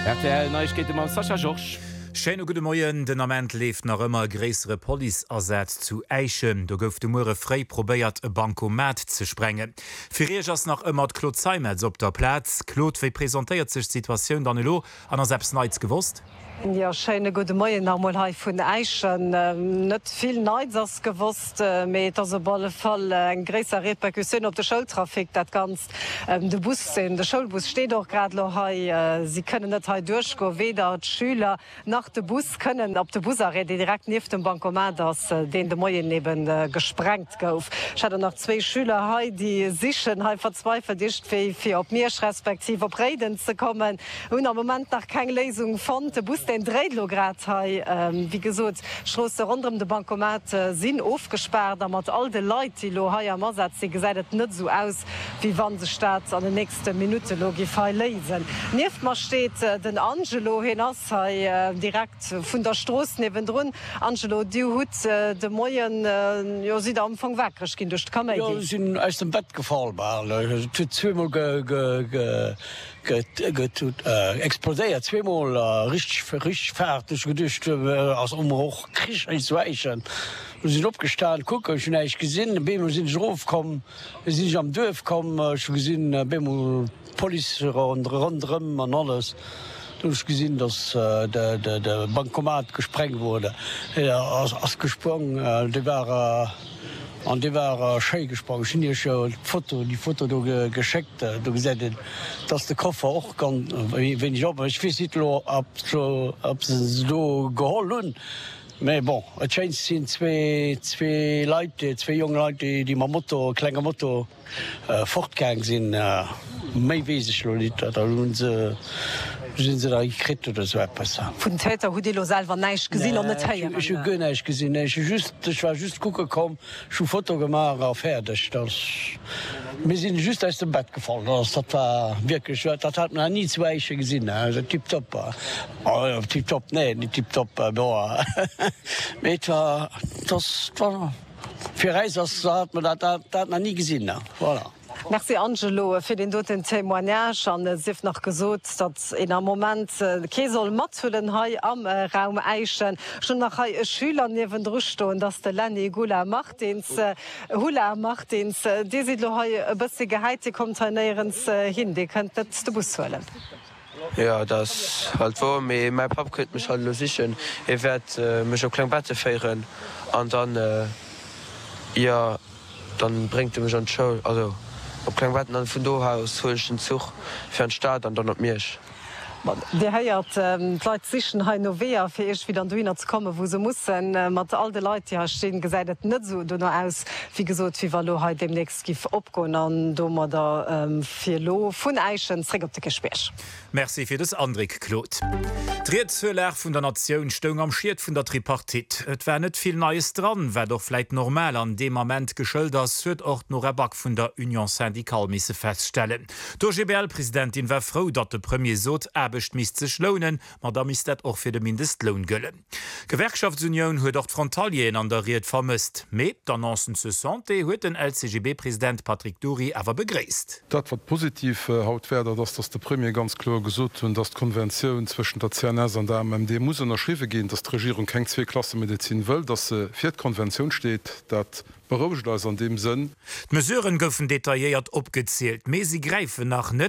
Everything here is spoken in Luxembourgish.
Rtl Neiegkeete mam Sascha Georges. Schéine gudde Moien. Den Ament leeft nach ëmmer e gréissere Policeasaz zu Äischen. Do gouf de Muere fréi probéiert, e Bancomat ze sprengen. Fir Iech ass nach ëmmer d'Claude Zeimetz op der Plaz. Claude, wéi presentéiert sech d'Situatioun dann elo an ass eppes Neits gewosst? Jo, schéine gudde Moien nach emol hei vun Äischen. Net vill Neits ass gewosst, mee et ass op alle Fall eng gréisser Repercussioun op de Schoultrafic dat Ganzt. De Bus, de Schoulbus steet och grad elo hei. Si kënnen net hei duerchgoen, weder d'Schüler nach de Bus kënnen op de Busarrêt, dee direkt nieft dem Bancomat ass, deen de Moien eben gesprengt gouf. Ech hat och nach zwéi Schüler hei, déi sichen hei verzweifelt iergendwéi fir op Miersch respektiv op Réiden ze kommen. Hunn am Moment nach keng Léisung fonnt. De Bus deen dréit elo grad hei. Wéi gesot, d'Stroosse ronderëm de Bancomat sinn ofgespaart a mat all de Leit, déi elo hei am Asaz sinn, gesäit et net esou aus, wéi wa sech dat an den nächste Minutte elo giff hei léisen. Nieft mer steet den Angelo. Hien ass hei direkt vun der Strooss niewendrun. Angelo, Dir hutt de Moien, jo, sidd Der am Fong wakereg ginn duerch de Kaméidi? Jo, ech sinn aus dem Bett gefall bal. Et huet zweemol ge. Gëtt explodéiert, zweemol richteg richteg Faart. Ech hu geduecht ass och Krich hei zu Äischen. Du sinn opgestan kucken, ech hunn näischt gesinn. Op eemol sinn ech erof komm, sinn ech am Duerf komm, ech hu gesinn op eemol d'Police ronderëm an alles. Du hunn ech gesinn, datt de Bancomat gesprengt wurde, ass gesprong, dee war. An dee war schéi gesprong. Ech hunn iech jo d'Foto, déi Foto do geschéckt. Do gesäit een, dass de Koffer och ganz wéineg op ass. Ech weess nit elo, ob se se do geholl hunn, mä bon, et schéint sinn zwee Leit, zwee jong Leit, déi mam Moto, klenge Moto, Fortgaang sinn. Méi weess ech lo nit. Oder hunn se, sinn se da gekritt oder sou eppes. Vun den Täter hutt Dir lo selwer näischt gesinn an net héieren? Ech hu guer näischt gesinn. Nee, ech hu just, ech war just kucke komm, ech hu Foto gemaach a fäerdeg. Dat, mir sinn just aus dem Bett gefall. Dat war wierklech, dat hat mer nach ni zu Äischen gesinn. Tiptop, tiptop, nee, net tiptop, bon, mee et war, et ass, et war. Fir äis ass hat mer dat dat nach ni gesinn. Voilà. Merci Angelo fir deen doten Témoignage. An et sief nach gesot, datt een am Moment kee soll mathuelen hei am Raum Äischen. Ech hunn nach hei e Schüler niewendru stoen, dat ass de Lenny Gula Martins. Hula Martins, Dir sidd elo hei e bëssi gehäit, Dir kommt hei néierens hin, Dir kënnt net de Bus huelen. Jo, dat ass halt wouer, mee mäi Papp kënnt mech halt elo sichen. Hie wäert mech op Klengbetten féieren an dann, jo, dann bréngt e mech an d'Schoul, also op Klengbetten, an vun do aus huelen ech den Zuch fir an d'Stad an dann op Miersch. Bon, Dir héiert, d'Leit sichen hei no Weeër, fir iergendwéi dann dohinner ze kommen, wou se mussen. Mat all de Leit, déi hei stinn, gesäit et net esou dono aus, wéi gesot, wéi wa lo hei deemnächst giff opgoen an domadder fir elo vun Äischen zréck op de Kierchbierg. Merci fir dës Andréck, Claude. D'Ried zur Lag vun der Natioun stoung am Schiet vun der Tripartite. Et war net vill Neies dran, wat och vläit normal an deem Ament geschëlt ass, huet och d'Nora Back vun der Union syndicale misse feststellen. D'OGBL-Presidentin war frou, datt de Premier sot, Aarbecht misst sech lounen, ma da misst dat och fir de Mindestloun gëllen. D'Gewerkschaftsunioun huet och d'Frontalieren an der Ried vermësst. Mee d'Annoncen zur Santé huet den LCGB-President Patrick Dury awer begréisst. Dat wat positiv haut war, dat ass, datt de Premier ganz kloer gesot hunn, datt d'Konventioun zwëschent der CNS an der AMMD muss ënnerschriwwe ginn, datt d'Regierung keng Zweeklassemedezin wëll, datt se fir d'Konventioun steet. Dat berouegt eis an deem Sënn. D'Mesuren goufen detailléiert opgezielt, mee si gräifen nach net.